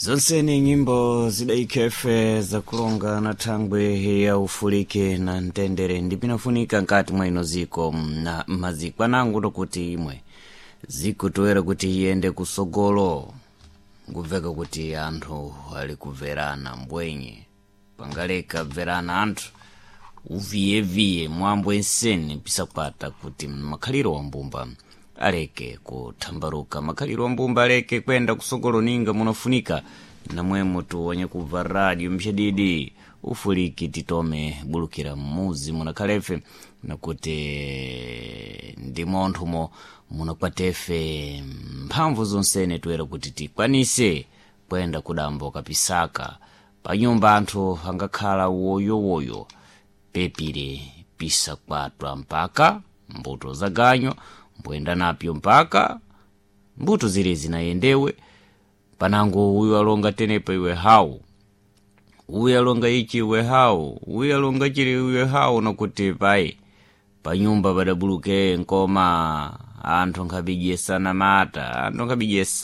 Zonse ni nyimbo zidaikhefe zakulonga na thangwe ya ufulike na mtendere ndipinafunika nkati mwa ino ziko na maziko anangu tokuti imwe zikutoera kuti iyende kusogolo, ngubveka kuti anthu ali kubverana mbwenye pangaleka bverana anthu uviyeviye mwambo ensene pisakwata kuti makhaliro wa mbumba aleke kuthambaruka, makhaliro wa mbumba aleke kwenda kusogolo ninga munafunika namwemo tuonye kubva radio mshadidi ufuliki titome bulukira mmuzi munakhalefe nakuti ndi monthumo munakwatefe mphamvu zonsene toera kuti tikwanise kwenda kudambo kapisaka panyumba anthu angakhala woyowoyo pepire pisakwatwa mpaka mbuto zaganyo mbuyenda napyo mpaka mbuto zile zinayendewe panango uyu alonga tenepa iwe hawu, uyu alonga ichi iwe hawu, uyu alonga chili iwe hawu, nokuti pai panyumba padabuluke nkoma anthu nkhabidyesana mata, anthu nkhabidyesa.